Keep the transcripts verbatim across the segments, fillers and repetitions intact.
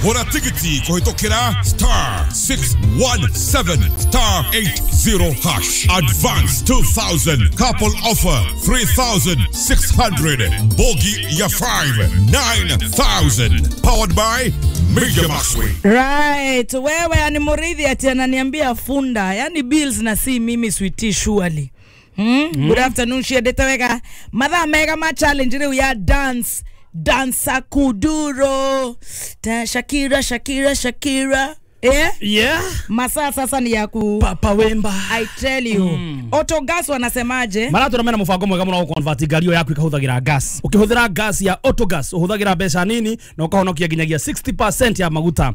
Gũra tigiti kũhĩtũkĩra star six one seven star eight zero hash. Advance two thousand. Couple offer three thousand six hundred. Bogi ya five nine thousand. Powered by Major Maxwell. Right, wewe ni Murithi ati ananiambia funda, yani bills na si mimi sweetie surely. Hmm? Mm. Good afternoon shia detaweka. Mathaa mega ma challenge leo ya dance dansa kuduro. Ta Shakira Shakira Shakira. Eh? Yeah. Masaa sasa ni ya ku Papa Wemba. I tell you. Mm. Autogas wanasemaje? Mara turamena mufango mwega muno convert ngari yaku ikahuthagira gas. Ukihuthira gas ya autogas uhuthagira mbeca nini na ukahonokia nginyagia sixty percent ya maguta.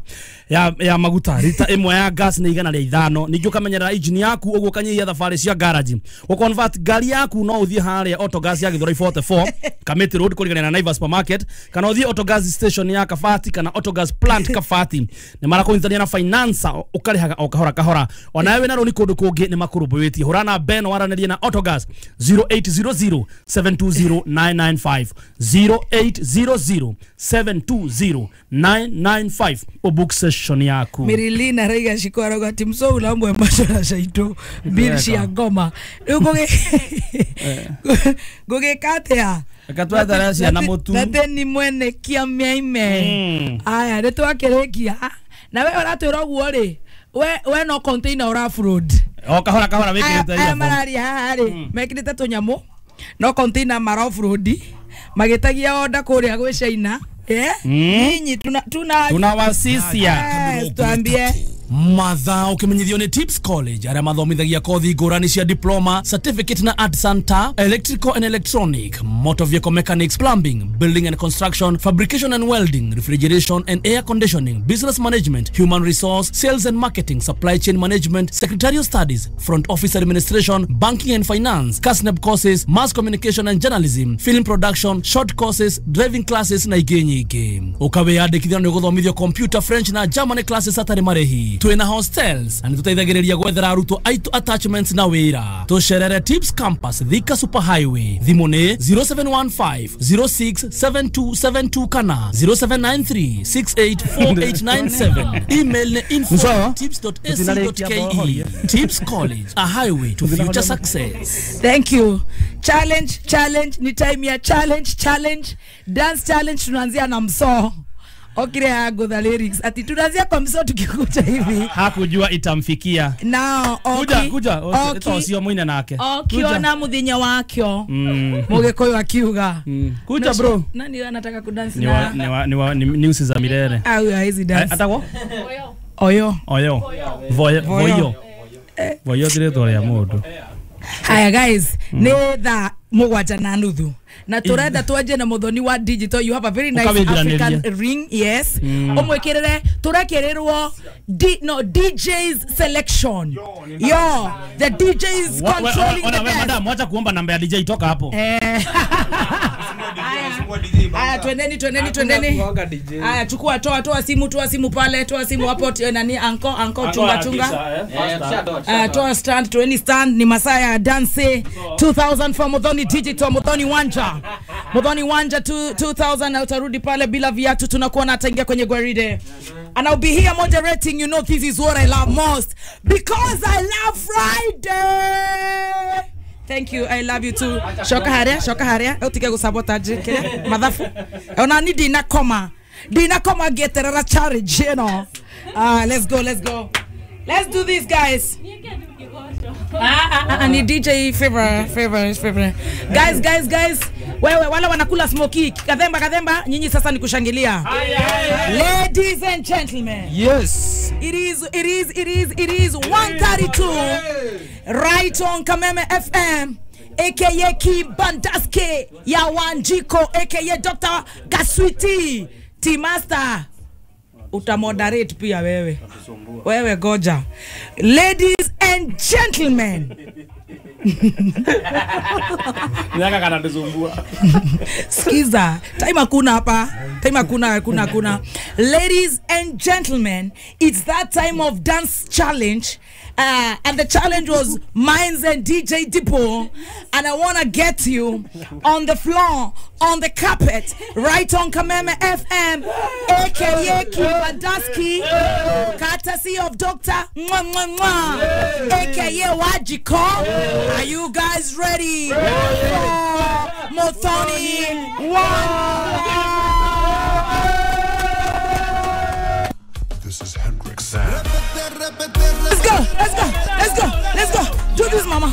Ya ya maguta lita imwe ya gas ni igana rĩa ithano. Ningĩ ukamenyerera engine yaku uguo kanyihia thabarĩ cia garage. Uconvert ngari yaku no uthie haria autogas ya Githurai forty-four Kamiti Road kũringana na Naivas Supermarket kana uthie autogas station ya Kabati kana autogas plant Kabati. Nĩ marakũnyitania na financer ukarihaga o kahora kahora ona wewe na roni kundu kungi ni makurumbuitie hurana Ben waranĩrie na Autogas zero eight zero zero seven two zero nine nine five zero eight zero zero seven two zero nine nine five obook session yaku. Mirilina Raiga shiko arauga ati mso ulambwe mashara shaito bill cia ngoma riu ngugi ngugikatia akatwethera ciana mutu na ni mwene kia miaime aya ni twakirikia na we uratwira uguo ri we we no container ura offload o kahora kahora wikirite aya mararia haha ri mekirite tunyamu no container mara offload magitagia order kuria gwi China eh nyinyi tuna tuna tunawasisia tuambie mathaa ukimenyithio ni Tips College aria mathomithagia kothi ngũrani cia diploma, certificate na art center, electrical and electronic, motor vehicle mechanics, plumbing, building and construction, fabrication and welding, refrigeration and air conditioning, business management, human resource, sales and marketing, supply chain management, secretarial studies, front office administration, banking and finance, KASNEB courses, mass communication and journalism, film production, short courses, driving classes na ingĩ nyingĩ. Ukawiyandĩkithia nĩ ũgũthomithio computer, French na German classes hatarĩ marĩhi. Twina hostels na nĩtũteithagĩrĩria gwethera arutwo aitũ attachments na wĩra. Tũcerere Tips Campus Thika Super Highway. Thimũ nĩ zero seven one five zero six seven two seven two kana zero seven nine three six eight four eight nine seven. Email nĩ info tips dot a c dot k e. Tips College, a highway to future success. Thank you. Challenge, challenge, ni time ya challenge, challenge. Dance challenge tunaanzia na msoo. Okire hago the lyrics. Ati tunaanzia kwa msoo tukikuja hivi. Hakujua itamfikia. Now, kuja kuja oki sio mwine nake. Okiona muthinya wakyo. Mm. Mugikuyu akiuga. Mm. Kuja bro. Nani anataka kudance na? Ni wa ni wa ni news za milele. Au hizi dance. Atako? Oyo. Oyo. Voyo. Voyo. Voyo diretor ya mundu. Haya guys, mm. ni thaa mugwanja na nuthu na turenda twanje na muthoni wa digital. You have a very nice African ring. Yes. Mm. Umwikirire turekirirwo D, no D J's selection. Yo, the D J's controlling the best. Madam, wacha kuomba namba ya D J toka hapo. Eh. Aya, twendeni twendeni twendeni. Aya, chukua toa toa simu toa simu pale toa simu hapo nani anko anko chunga chunga. Ah, toa stand to any stand ni masaa ya dance two thousand for Muthoni Digital, Muthoni Wanja. Muthoni Wanja two thousand na utarudi pale bila viatu tunakuwa na ataingia kwenye gwaride. And I'll be here moderating. You know this is what I love most because I love Friday. Thank you. I love you too. Shoka haria, shoka haria. Utike gusabotage kile madhafu. Ona ni dina koma. Dina koma geterera charge, you know. Ah, let's go, let's go. Let's do this, guys. Ah, ah, ah, ni D J favor, favor, favor. Guys, guys, guys. Wewe wala wanakula smoky. Kadhemba, kadhemba, nyinyi sasa ni kushangilia. Ladies and gentlemen. Yes. It is, it is, it is, it is one thirty-two. Right on Kameme F M, aka Kibandaske ya Wanjiko, aka Doctor Gaswiti, T Master. Utamoderate pia wewe. Wewe goja. Ladies and gentlemen, Naka kanatusumbua. Skiza, time hakuna hapa. Time hakuna, hakuna, hakuna. Ladies and gentlemen, it's that time of dance challenge. Uh, and the challenge was Mines and D J Dippo. And I want to get you on the floor, on the carpet, right on Kameme F M, A K A Kibadaski, courtesy of Doctor Mwah Mwah Mwah, A K A Wajiko. Are you guys ready for Muthoni One? This is Hendrix Sam. Let's go, let's go, let's go, let's go. Do this, mama.